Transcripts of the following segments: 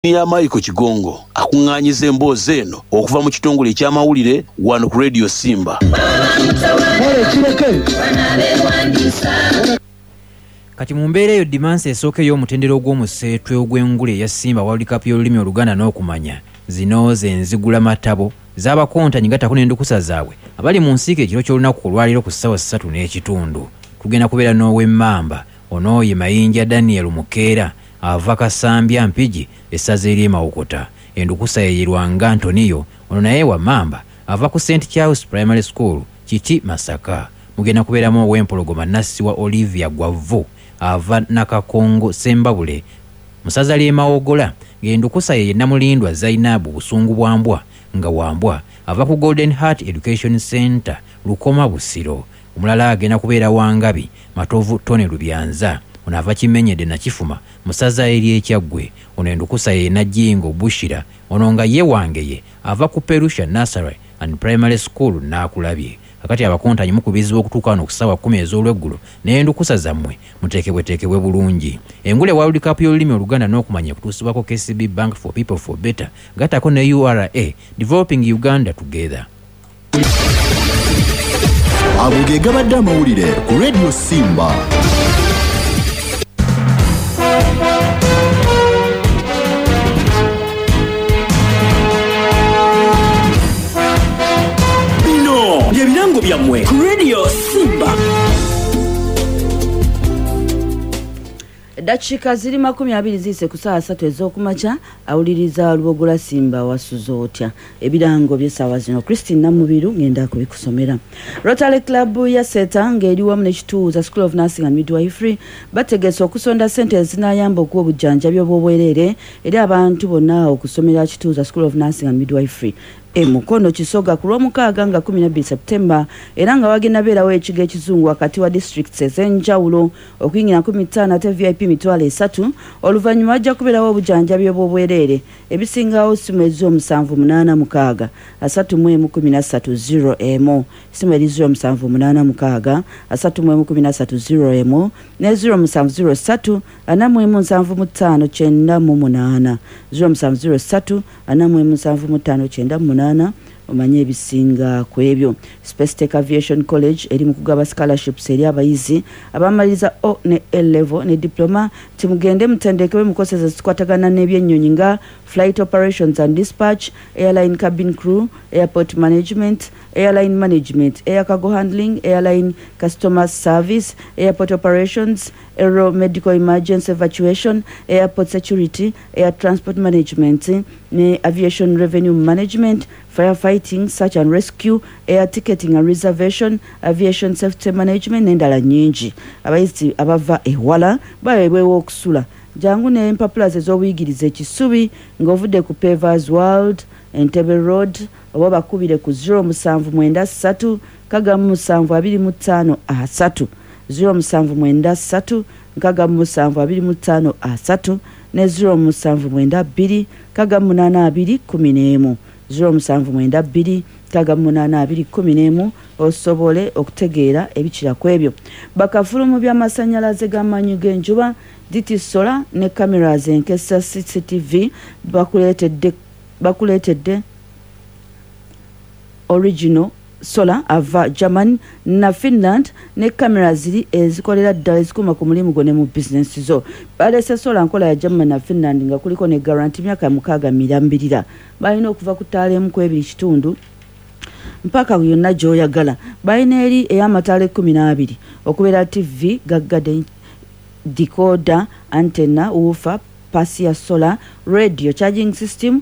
Ya Michael Kigongo akuŋŋaanyiza emboozi eno okuva mu kitongole eky'amawulire wano ku Radio Simba. Kati mu mbeera eyo dimansi esooka ey'omutendera ogw'omuseetwe ogw'engule eya Simba World Cup y'olulimi Oluganda n'okumanya zino ze nzigula matabo z'abakontanyi gattako n'endukusa zaabwe abali mu nsiike ekiro ky'olunaku olwaleero ku ssaawa 3:30. Tugenda kubeera n'ow'emmamba ono ye Mayinja Daniel Mukeera ava Kasambya Mpigi essaza ery'e Mawokota. Endukusa ye ye Lwanga Antonio ono naye wa Mmamba ava ku St Charles Primary School Kiti Masaka. Mugenda kubeeramu ow'Empologoma Nassiwa Olivia Gwavvu ava Nakakongo Ssembabule mu ssaza ly'e Mawogola ng'endukusa ye ye Namulindwa Zainabu Busungu Bwambwa nga Wambwa ava ku Golden Heart Education Centre Lukoma Busiro. Omulala agenda kubeera Wangabi Matovu Tony Lubyanza ono ava Kimenyedde Nakifuma mu ssaza ery'e Kyaggwe. Ono endukusa ye Najjingo Bushira ono nga ye Wangeye ava ku Perusha Nursery and Primary School Naakulabye. Kakati abakontanyi mukubirizibwa okutuuka wano ku ssaawa 10 ez'olweggulo n'endukusa zammwe muteekebweteekebwe bulungi. Engule World Cup y'olulimi Oluganda n'okumanya ekutuusibwako KCB Bank for People for Better gattako ne URA Developing Uganda Together. Ago ge gabadde amawulire ku Radio Simba. Bino bye birango byammwe ku Radio Simba. Eddakiika ziri 20 ziyise ku ssaawa 3 ez'okumakya, awuliriza Lubogola Simba wasuze otya? Ebirango by'essaawa zino Christine Namubiru ngenda kubikusomera. Rotary Club ya Seta ng'eri wamu n'ekituuza School of Nursing and Midwifery bategese okusonda ssente ezinaayamba okuwa obujjanjabi obw'obwereere eri abantu bonna okusomera kituuza School of Nursing and Midwifery e Mukono Kisoga ku Lwomukaaga nga 12 September, era nga wagenda beerawo ekigo ekizungu wakati wa districts ez'enjawulo okuyingira 15 ate VIP 30,000. Oluvannyuma wajja kubeerawo obujjanjabi obw'obwereere. Ebisingawo simu eri 0786 31 13 0 simu eri 0786 31 13 0 ne 0703 41 75 98 0703 41 75 98. Omanye ebisinga ku ebyo. Space Tech Aviation College eri mu kugaba scholarships eri abayizi abamaliriza O ne A level ne diploma. Timugende mutendekebwe mu courses ezikwatagana n'ebyennyonyi nga flight operations and dispatch, airline cabin crew, airport management, airline management, air cargo handling, airline customer service, airport operations, aero medical emergency evacuation, airport security, air transport management ne aviation revenue management, firefighting, search and rescue, air ticketing and reservation, aviation safety management n'endala nnyingi. Abayizi abava ewala baweebwewo okusula. Jangu n'empapula ze z'obuyigirize Ekisubi ng'ovudde ku Pavers World, Entebbe Road, oba bakubire ku 0793 67 25 3 0793 67 25 3 ne 0792 68 2 11 0792 68 2 11 osobole okutegeera ebikira ku ebyo. Bakafulu mu by'amasannyalaze g'amaanyi g'enjuba, DT Solar ne cameras enkesa CCTV bakuleetedde original solar ava Germany na Finland ne kamera ziri ezikolera ddala ezikuuma ku mulimu gwo ne mu bizinensi zo. Baleese solar nkola ya Germany na Finland nga kuliko ne guarantee myaka 6 mirambirira. Balina okuva ku ttaala emu ku ebiri kitundu mpaka yonna gy'oyagala. Balina eri ey'amataala 12 okubeera TV, gaggadde, decoder, antenna, woofer, pasi ya solar, radio, charging system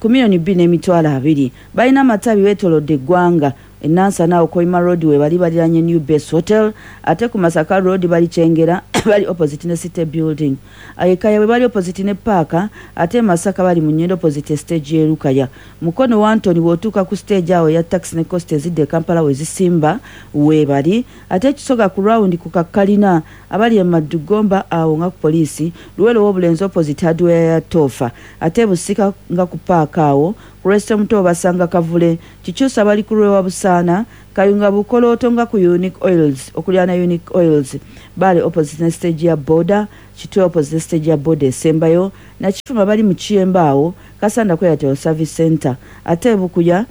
ku 2,200,000. Balina amatabi weetoolodde eggwanga. E Nansana awo Koima Road we bali baliranye New Base Hotel, ate ku Masaka Road bali Kyengera bali opposite ne City Building. Ekaya we bali opposite ne Paaka, ate e Masaka bali mu Nnyendo opposite stage y'e Lukaya. Mukono wa Antony bw'otuuka ku stage awo eya taxi ne coaster ezidda e Kampala we zisimba we bali. Ate Kisoga ku round ku Kakkalina abali e Maddu Gomba awo nga ku poliisi, Luweero w'Obulenzi opposite hardware ya Toofa. Ate Busika nga ku paaka awo ku Reste Muto obasanga Kavule. Kikyusa bali ku Lwewa Busaasi. Ntaana, Kayunga Bukolooto nga ku Unique Oils, okuliraana Unique Oils, Bbaale opposite ne stage ya boda, Kitwe opposite ne stage ya boda esembayo, Nakifuma bali mu Kiyemba awo, Kasanda ku Airtel Service Center, ate e Bukuya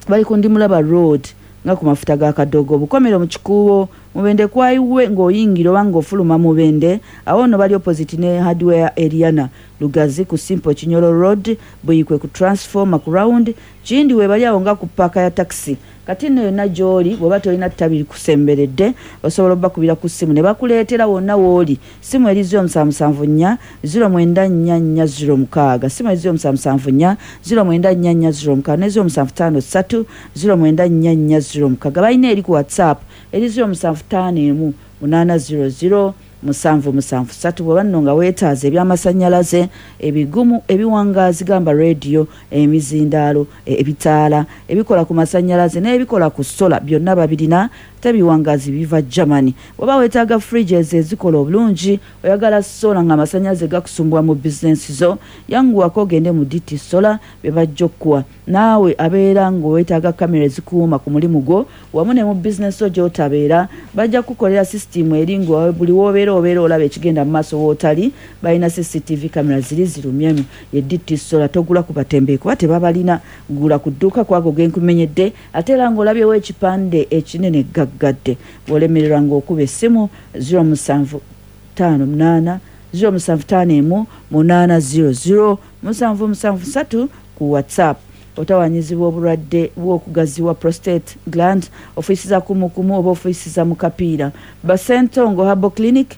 bali ku Ndimulaba Road nga ku mafuta ga Kadogo. Bukomero mu Kikuubo, Mubende kwayiwe ng'oyingira oba ng'ofuluma Mubende, awo nno bali opposite ne Hardware Eriana. Lugazi ku Simple Kinyoro Road, Buikwe ku Transformer ku Round, Kiyindi webali awo nga ku ppaaka ya takisi. Kati nno yonna gy'oli bw'oba tolina ttabi likusemberedde osobola obbakubira ku ssimu ne bakuleetera wonna w'oli. Ssimu eri 0774 0944 06. Ssimu eri 0774 0944 06 ne 0753 0944 06. Balina eri ku WhatsApp eri 0751 800 773. Bw'oba nno nga weetaaza eby'amasannyalaze ebigumu ebiwangaazi gamba rediyo, emizindaalo, ebitaala ebikola ku masannyalaze n'ebikola ku sola byonna babirina, ate ebiwangaazi biva Germany. Bw'oba weetaaga fridges ezikola obulungi, oyagala sola ng'amasannyalaze gakusumbuwa mu bizinensi zo, yanguwako ogende mu DT Solar be bajja okukuwa. Naawe abeera ng'oweetaaga kamera ezikuuma ku mulimu gwo wamu ne mu bizinensi zo gy'otabeera, bajja kukukolera sisitiimu eri nga buli w'obeera obeera olaba ekigenda mu maaso w'otali. Balina CCTV kamera ziri zirumyemu. Ye DT Solar, togula ku batembeeyi kuba tebabalina, gula ku dduuka ku ago ge nkumenyedde, ate era ng'olabyewo ekipande ekinene gaggadde. Bw'olemererwa ng'okuba essimu 0758 0751 800 773 ku WhatsApp. Otawanyizibwa obulwadde bw'okugaziwa prostate gland, ofiisiza kumukumu oba ofiisiza mu kapiira, Basentongo Herbal Clinic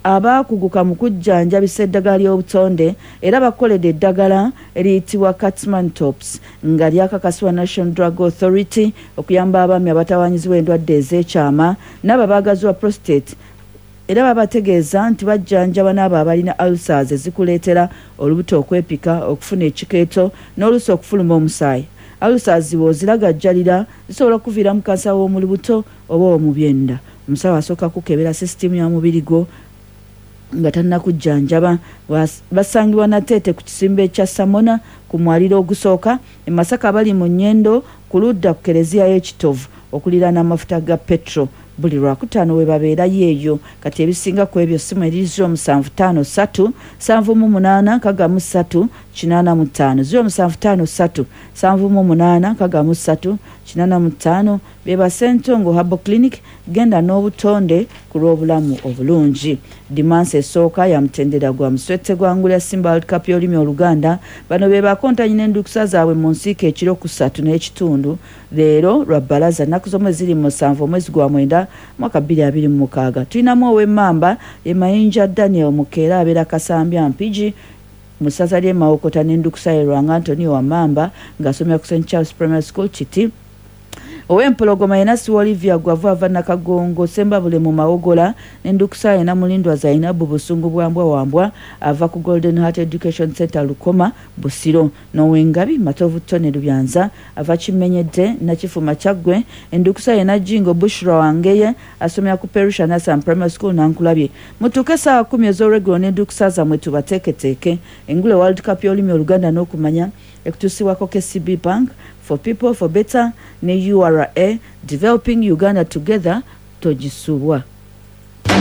abaakuguka mu kujjanjabisa eddagala ly'obutonde era bakoledde eddagala eriyitibwa Catsman Tops nga lyakakasibwa National Drug Authority okuyamba abaami abatawanyizibwa endwadde ez'ekyama n'abo abaagaziwa prostate. Era babategeeza nti bajjanjaba n'abo abalina ulcers ezikuleetera olubuto okwepika, okufuna ekikeeto n'oluusi okufuluma omusaayi. Ulcers bw'oziragajjalira zisobola okukuviiramu kansa w'omu lubuto oba ow'omu byenda. Omusawo asooka kukebera sisitiimu ya mubiri gwo nga tannakujjanjaba. Basangibwa Nateete ku kisimbe kya Samona ku mwaliiro ogusooka. E Masaka bali mu Nyendo ku ludda ku Kereziya y'e Kitovu okuliraana amafuta ga petro. Buli Lwakutaano we babeerayo eyo. Kati ebisinga ku ebyo ssimu eri 0753 78 63 85, 0753 78 63 85. Be ba Ssentongo Herbal Clinic, genda n'obutonde ku lw'obulamu obulungi. Dimansi esooka ya mutendera gwa muswette gwa ngule ya Simba World Cup y'olulimi Oluganda. Bano be bakontanyi n'endukusa zaabwe mu nsiike ekiro ku ssatu n'ekitundu leero lwa bbalaza, nnaku z'omwezi ziri 7 omwezi gwa mwenda mwaka 2026. Tulinamu ow'Emmamba ye Mayinja Daniel Mukeera abeera Kasambya Mpigi mu ssaza ly'e Mawokota n'endukusa ye Lwanga Antonio wa Mmamba ng'asomera ku St Charles Primary School Kiti. Ow'Empologoma ye Nassiwa Olivia Gwavu ava Nakagongo Ssembabule mu Mawogola n'endukusa ye Namulindwa Zainabu Busungu bwa Mbwa wa Mbwa ava ku Golden Heart Education Centre Lukoma Busiro. N'ow'Engabi Matovu Tony Lubyanza ava Kimenyedde Nakifuma Kyaggwe endukusa ye Najjingo Bushra Wangeye asomera ku Perusha Nasam Primary School Nankulabye. Mutuuke essaawa 10 ez'olweggulo n'endukusa zammwe tubateeketeeke. Engule World Cup y'olulimi Oluganda n'okumanya ekutuusibwako KCB Bank for people for better ne URA, developing Uganda together. Togisubwa.